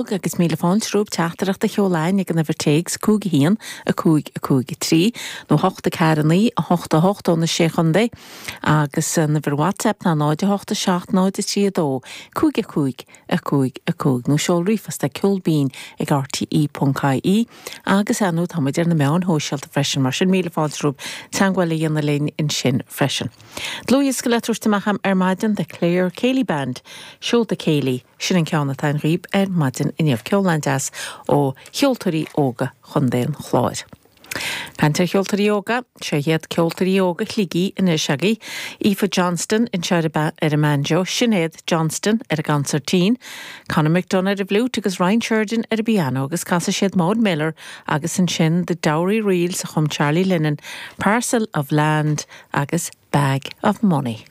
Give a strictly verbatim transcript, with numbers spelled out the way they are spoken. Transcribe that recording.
Agus míle fáilte romhaibh teachtaireacht a sheoladh ag an uimhir téacs cúig a haon, a cúig, a cúig a trí, nó hocht a ceathair a naoi, a hocht a hocht ó na Sé Chontae, agus an uimhir WhatsApp ná náid a hocht a seacht náid a trí a dó, cúig a cúig, a cúig a cúig, nó seol ríomhphost ag ceol binn ag rte ponc ie agus ar ndóigh tá muid ar na meáin shóisialta freisin, mar sin míle fáilte romhaibh teagmháil a dhéanamh linn ansin freisin. Dlúthdhiosca le tabhairt amach ar maidin, The Clare Céilí Band, Seolta Céilí, sin an ceann atá againn dhaoibh ar maidin inniu. Ceol an-deas ó cheoltóirí óga Chontae an Chláir. Caint ar cheoltóirí óga, seo iad ceoltóirí óga Shligigh anois agaibh, Aoife Johnston anseo ar an mbanjo, Sinéad Johnston ar an gconsairtín, Conor McDonagh ar an bhfliúit agus Ryan Sheridan ar an bpianó agus casfaidh siad Maud Miller agus ansin The Dowry Reels a chum Charlie Lennon, Parcel of Land agus Bag of Money.